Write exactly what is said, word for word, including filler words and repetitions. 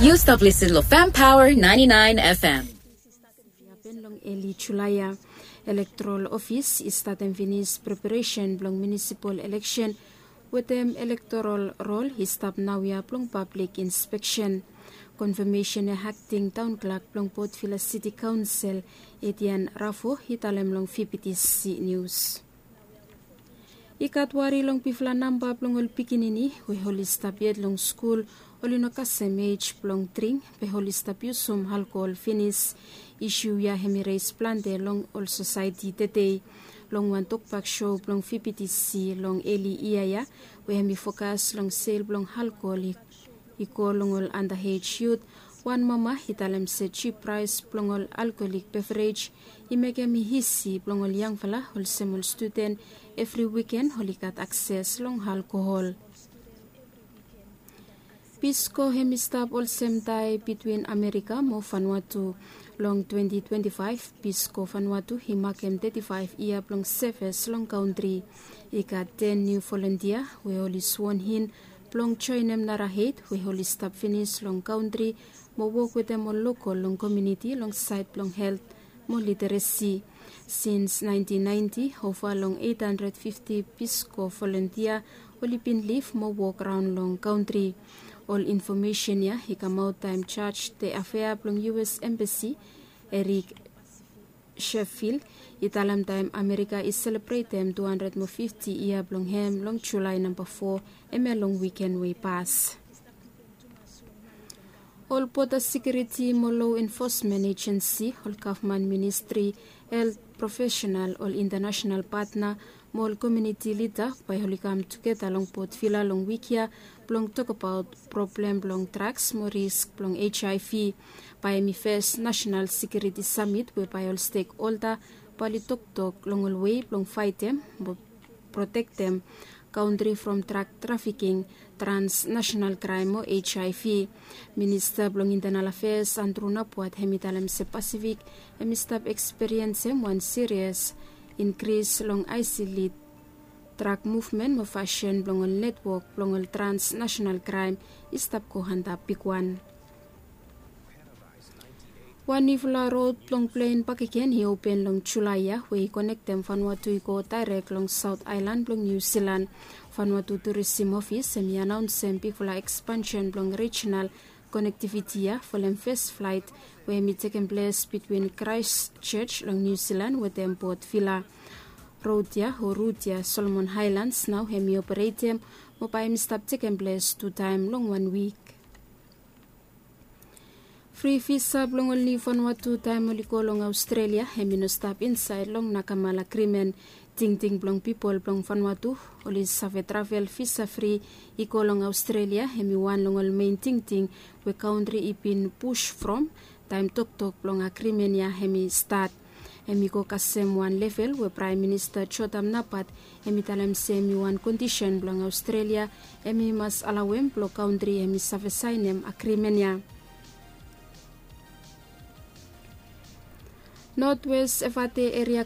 Yu stap listen lo Fam Power ninety-nine F M. Hapen long eli Julae ya, elektoral ofis i statem finis preparesen blong munisipal eleksen wetem elektoral rol i stap naoia blong pablik inspeksen. Konfamesen ya akting taon klak blong Port Vila Siti Kaonsel, Etian Rafo, i talem long V P T C Nius. I gat wari long bigfala namba blong ol pikinini we oli stap yet long skul, oli no kasem ej blong dring be oli stap yusum alkohol finis. Isu ya hemi res plante long ol sosaeti tede. Long wan tokbak sou blong V P T C long eli yia ya we hemi fokas long sel blong alkohol i go long ol anda ej yut, wan mama i talem se jip praes blong ol alkoholik beverej i mekem i isi blong ol yangfala olsem ol studen evri wiken oli gat akses long alkohol. Pisko hemi stap olsem tae bitwin Amerika mo Vanuatu. Long twenti twenti faef, Pisko Vanuatu i makem teti faef yia blong seves long kantri. I gat ten niu volontia we oli swon in blong joenem nara eit we oli stap finis long kantri mo wok wetem ol lokol long komuniti long saed blong helt mo literesi. Sins naentin naenti, ova long eit handred fifti Pisko volontia oli bin lif mo wok raon long kantri. Ol infomesen ya i kamaot taem Jaj de Afea blong U S Embasi, Erik Sheffield, i talem taem Amerika i selebretem tu handred mo fifti yia blong hem long Julae namba fo, hemia long wiken we i pas. Ol Boda Sekiuriti mo Lo Enfosmen Ejensi, ol gavman ministri, helt profesenal, ol intanasenal patna mo ol komuniti lida bae oli kam tugeta long Port Vila long wik ya blong tokbaot problem blong draks mo risk blong H I V. Bae hemi fes nasenal sekiuriti samit we bae ol stekholda bae oli toktok long ol wei blong faetem mo protektem kantri from drak trafiking, transnasenal kraem mo H I V. Minista blong Intenal Afeas Andrew Napuat hemi talem se Pasifik hemi stap ekspiriensem wan sirias inkris long aeselet drak muvmen mo fasin blong ol netwok blong ol transnasenal kraem i stap go antap bigwan. Wan niufala rod blong plen bakegen i open long Julae ya we i konektem Vanuatu i go daerek long Saot Aelan blong Niu Silan. Vanuatu Turisim Ofis hemi anaonsem bigfala ekspansen blong rijinal konektiviti ya folem fes flaet we hemi tekem ples bitwin Kraestchoj long Niu Silan wetem Port Vila. Rod ya o rut ya Solomon Aelans nao hemi operetem mo bae hemi stap tekem ples tu taem long wan wik. Fri visa blong ol niu Vanuatu taem oli go long Aostrelia hemi no stap insaed long Nakamala Agrimen. Tingting blong pipol blong Vanuatu oli save travel visa fri i go long Aostrelia hemi wan long ol mein tingting we kantri i bin pus from taem toktok blong agrimen ya hemi stat. Hemi go kasem wan level we Praem Minista Jotam Napat hemi talem se hemi wan kondisen blong Aostrelia hemi mas alauem blong kantri hemi save saenem agrimen ya. Notwes Evate Eria